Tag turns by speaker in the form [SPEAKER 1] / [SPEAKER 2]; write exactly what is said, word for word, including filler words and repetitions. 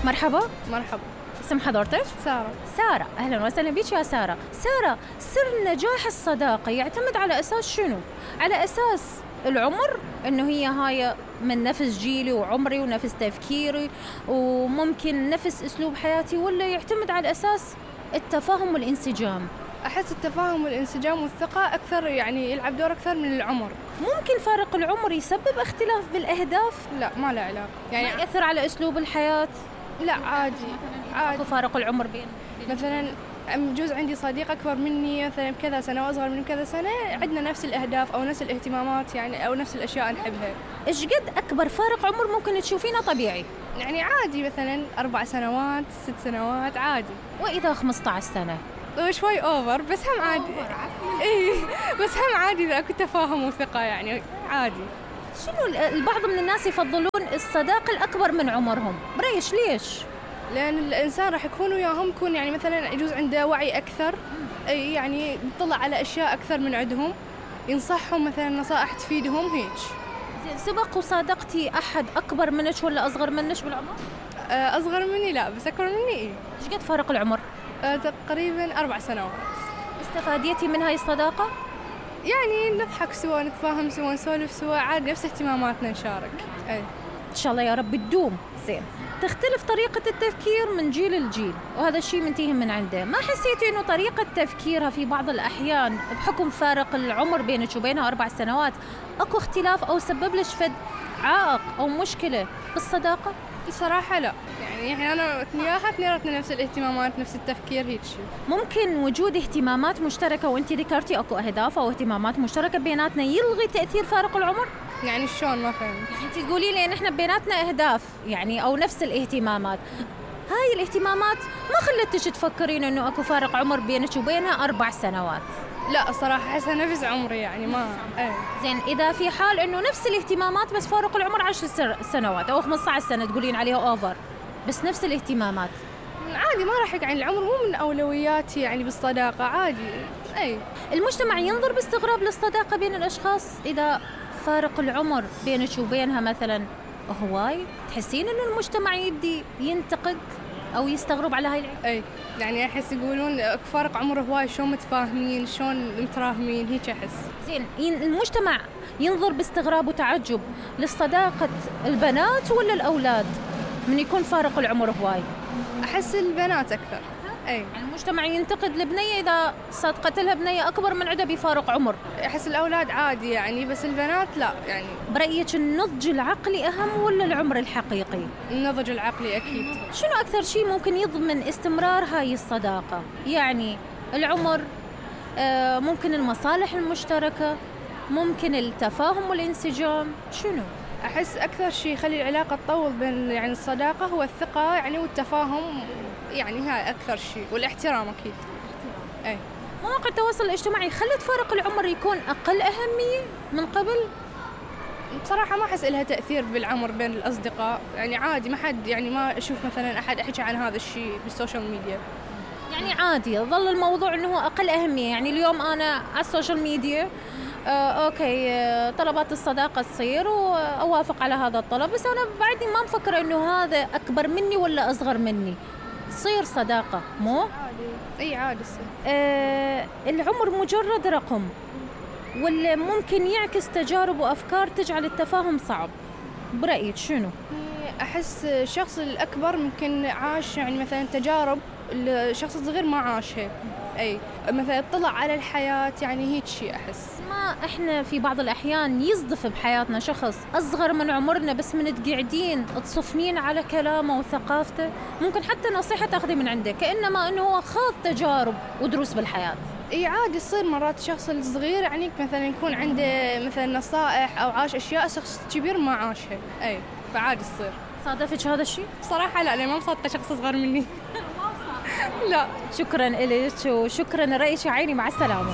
[SPEAKER 1] مرحبا.
[SPEAKER 2] مرحبا.
[SPEAKER 1] اسم حضرتك؟
[SPEAKER 2] سارة.
[SPEAKER 1] سارة، أهلا وسهلا بك يا سارة. سارة، سر نجاح الصداقة يعتمد على أساس شنو؟ على أساس العمر، إنه هي هاي من نفس جيلي وعمري ونفس تفكيري وممكن نفس أسلوب حياتي، ولا يعتمد على أساس التفاهم والانسجام؟
[SPEAKER 2] أحس التفاهم والانسجام والثقة أكثر، يعني يلعب دور أكثر من العمر.
[SPEAKER 1] ممكن فارق العمر يسبب اختلاف بالأهداف؟
[SPEAKER 2] لا، ما له علاقة.
[SPEAKER 1] يعني ما يأثر على أسلوب الحياة؟
[SPEAKER 2] لا، عادي عادي.
[SPEAKER 1] فارق العمر بين
[SPEAKER 2] مثلا جوز عندي صديق أكبر مني مثلا بكذا سنة وأصغر مني بكذا سنة، عندنا نفس الأهداف أو نفس الاهتمامات يعني، أو نفس الأشياء نحبها.
[SPEAKER 1] إيش قد أكبر فارق عمر ممكن تشوفينه طبيعي؟
[SPEAKER 2] يعني عادي، مثلا أربع سنوات ست سنوات عادي.
[SPEAKER 1] وإذا خمسة عشر سنة؟
[SPEAKER 2] شوي أوفر، بس هم عادي. إيه، بس هم عادي إذا أكو تفاهم وثقة يعني عادي.
[SPEAKER 1] شنو البعض من الناس يفضلون الصداقة الأكبر من عمرهم؟ بريش ليش؟
[SPEAKER 2] لأن الإنسان راح يكون وياهم يكون يعني مثلا يجوز عنده وعي أكثر، أي يعني يطلع على أشياء أكثر من عندهم، ينصحهم مثلا نصائح تفيدهم هيك.
[SPEAKER 1] زين، سبق وصادقتي أحد أكبر منك ولا أصغر منك بالعمر؟
[SPEAKER 2] أصغر مني لا، بس أكبر مني إيه.
[SPEAKER 1] إيش قد فارق العمر؟
[SPEAKER 2] تقريبا أربع سنوات.
[SPEAKER 1] استفاديتي من هاي الصداقة؟
[SPEAKER 2] يعني نضحك سوا، نتفاهم سوا، نسولف سوا، عادي نفس اهتماماتنا نشارك. أي.
[SPEAKER 1] إن شاء الله يا رب تدوم. زين، تختلف طريقة التفكير من جيل لجيل، وهذا الشيء منتهي من عنده. ما حسيتي إنه طريقة تفكيرها في بعض الأحيان بحكم فارق العمر بينك وبينها أربع سنوات أكو اختلاف أو سبب لك فد عائق أو مشكلة بالصداقة؟
[SPEAKER 2] الصراحة لا، يعني احنا أنا وياها اثنيناتنا نفس الاهتمامات نفس التفكير هيك شيء.
[SPEAKER 1] ممكن وجود اهتمامات مشتركة، وانت ذكرتي اكو أهداف أو اهتمامات مشتركة بيناتنا، يلغي تأثير فارق العمر؟
[SPEAKER 2] يعني شلون؟ ما فهمت.
[SPEAKER 1] انت تقولي لي ان احنا بيناتنا أهداف يعني أو نفس الاهتمامات، هاي الاهتمامات ما خلتش تفكرين انه اكو فارق عمر بينك وبينها أربع سنوات؟
[SPEAKER 2] لا الصراحة أحسها نفس عمري يعني ما ايه.
[SPEAKER 1] زين، إذا في حال إنه نفس الاهتمامات بس فارق العمر عشر سنوات أو خمسة عشر سنة تقولين عليها أوفر، بس نفس الاهتمامات
[SPEAKER 2] عادي، ما راح يعني العمر مو من أولوياتي يعني بالصداقة، عادي. أي.
[SPEAKER 1] المجتمع ينظر باستغراب للصداقة بين الأشخاص إذا فارق العمر بينك وبينها مثلا هواي؟ تحسين إنه المجتمع يدي ينتقد أو يستغرب على هاي العيب؟
[SPEAKER 2] أي، يعني أحس يقولون فارق عمر هواي، شلون متفاهمين، شلون متراهمين، هيك أحس.
[SPEAKER 1] زين، المجتمع ينظر باستغراب وتعجب للصداقة البنات ولا الأولاد من يكون فارق العمر هواي؟
[SPEAKER 2] أحس البنات أكثر. أي.
[SPEAKER 1] يعني المجتمع ينتقد البنية إذا صادقت لها بنية أكبر من عدها بفارق عمر.
[SPEAKER 2] أحس الأولاد عادي يعني، بس البنات لا يعني.
[SPEAKER 1] برأيك النضج العقلي أهم ولا العمر الحقيقي؟
[SPEAKER 2] النضج العقلي أكيد.
[SPEAKER 1] شنو أكثر شيء ممكن يضمن استمرار هاي الصداقة؟ يعني العمر، آه ممكن المصالح المشتركة، ممكن التفاهم والانسجام، شنو؟
[SPEAKER 2] أحس أكثر شيء يخلي العلاقة تطول بين يعني الصداقة هو الثقة يعني والتفاهم، يعني هاي أكثر شيء، والاحترام أكيد. أي.
[SPEAKER 1] مواقع التواصل الاجتماعي خلت فارق العمر يكون أقل أهمية من قبل؟
[SPEAKER 2] بصراحة ما أحس لها تأثير بالعمر بين الأصدقاء، يعني عادي، ما حد يعني ما أشوف مثلا أحد أحكي عن هذا الشيء بالسوشيال ميديا.
[SPEAKER 1] يعني عادي ظل الموضوع أنه أقل أهمية. يعني اليوم أنا على السوشيال ميديا آه، أوكي آه، طلبات الصداقة تصير وأوافق على هذا الطلب، بس أنا بعدني ما مفكرة أنه هذا أكبر مني ولا أصغر مني، تصير صداقة مو؟
[SPEAKER 2] عادي. أي عادي.
[SPEAKER 1] آه، العمر مجرد رقم ولا ممكن يعكس تجارب وأفكار تجعل التفاهم صعب؟ برأيك شنو؟
[SPEAKER 2] أحس الشخص الأكبر ممكن عاش يعني مثلا تجارب الشخص الصغير ما عاشها. أي مثلا اطلع على الحياة، يعني هيك شيء أحس.
[SPEAKER 1] ما إحنا في بعض الأحيان يصدف بحياتنا شخص أصغر من عمرنا، بس من تقعدين تصفنين على كلامه وثقافته، ممكن حتى نصيحة تاخذي من عنده كأنما أنه هو خاض تجارب ودروس بالحياة.
[SPEAKER 2] اي عادي يصير مرات الشخص الصغير يعني مثلا يكون عنده مثلا نصائح او عاش اشياء شخص كبير ما عاشها. اي فعادي يصير.
[SPEAKER 1] صادفك هذا الشيء؟
[SPEAKER 2] صراحة لا، لأن ما مصادقة شخص أصغر مني. لا.
[SPEAKER 1] شكرا إليك وشكرا رأيك عيني، مع السلامة.